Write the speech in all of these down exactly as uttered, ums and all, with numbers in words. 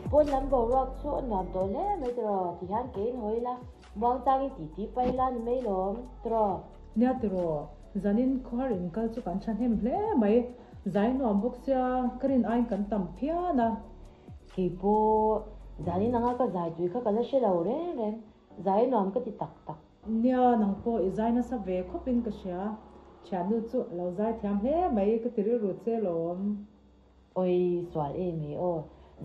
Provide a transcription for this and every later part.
Pawn lam boruak chu a nuam tawh hle mai tiraw tihian keiin haw ila, muangchangin titi pai ila ni mai lawm tiraw. Nia tiraw, zanin khawhar inkal chu kan thahnem hle mai, zai nuam bawk sia ka rin aiin kan tam phian a. Keipawh zanin anga ka zai tui kha ka la hre lo reng reng, zai nuam ka ti tak tak. Nia nang pawh i zai nasa ve khawpin ka hria, thiannu chu a lo zai thiam hle mai ka ti rilru che lawm. Oi sual em e aw,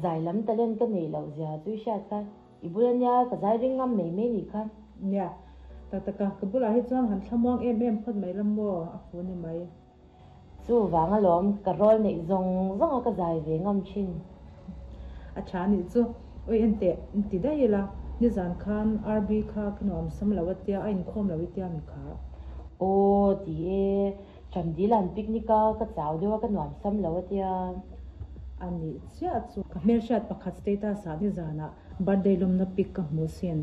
zai lam talent ka neih loh zia chu i hriat kha, i bul ania ka zai ring ngam mai mai nih kha. Nia, tak taka ka bulah hi chuan han thlamuang em em phawt mai lam maw a fu ni mai. Chuvang alawm ka rawl neih zawng zawng a ka zai ve ngam thin. A tha nih chu, oi enteh inti daih ila, nizan khan R B kha ka nuam sam lo a tia a inkhawm lo i tia mi kha. Aw ti e, Chamdilan picnic a ka chau deuh a ka nuam sam lo a tia. A nih chiah chu ka hmelhriat pakhat status ah nizanah birthday lawmna pic ka hmu sin.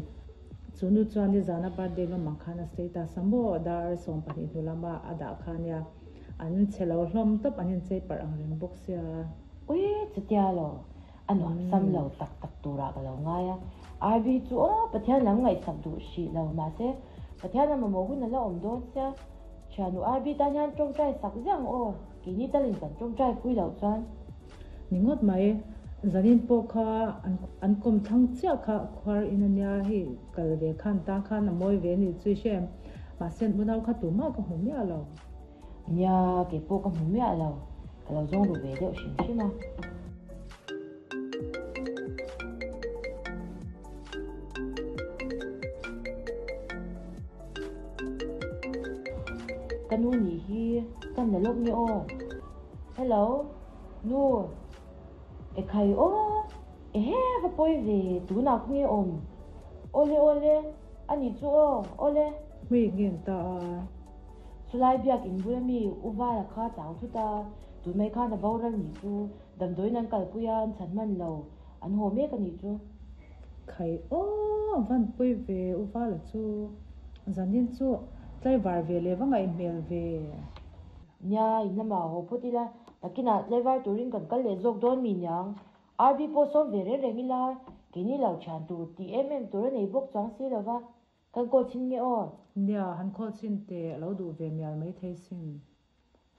Chu nu chuan nizana birthday lawm ang khan a status a maw dar sawm pahnih hnu lama a dah kha nia an chhe lo hlawm tawp an inchei parh ang reng bawk sia. Ui chutia lo, a nuam sam lo tak tak turah ka lo ngai a, R B chu aw Pathian lam ngaihsak duh hrih lo mahse Pathian a mamawh hun a la awm dawn sia, thiannu R B tan hian tawngtai sak ziah ang aw, keini talin kan tawngtai pui loh chuan. Ni ngawt mai, zanin pawh kha an kawm thlang chiah kha khuar in ania hei kal ve khan tan khan a mawi ve nih chu i hre em, mahse an unau kha tumah ka hmu miah lo. Nia, kei pawh ka hmu miah lo, ka lo zawng ru ve deuh hrim hrim a. Ka nu nih hi kan la lawk nge aw. Hello, nu. Ekhai aw, ehe va pawi ve tunah khaw nge awm. Awle awle, a nih chu aw, awle. Hmei ngen ta a. Chulai biak in bula mi u Vala kha chau thut a, tun mai khan a boral nih chu damdawiin an kalpui a, an chhan hman lo, an haw mek a nih chu. Khai aw, a van pawi ve u Vala chu, zanin chu tlaivar ve leh va ngaih hmel ve. Nia, in lamah haw phawt ila, takinah tlaivar turin kan kal leh zawk dawn mi niang. R B pawh sawm ve reng reng ila, keini lo thian tur tih em em tur a nei bawk chuang si lova, kan call chhin nge aw? Nia, han call chhin teh, a lo duh ve mial mai thei sin.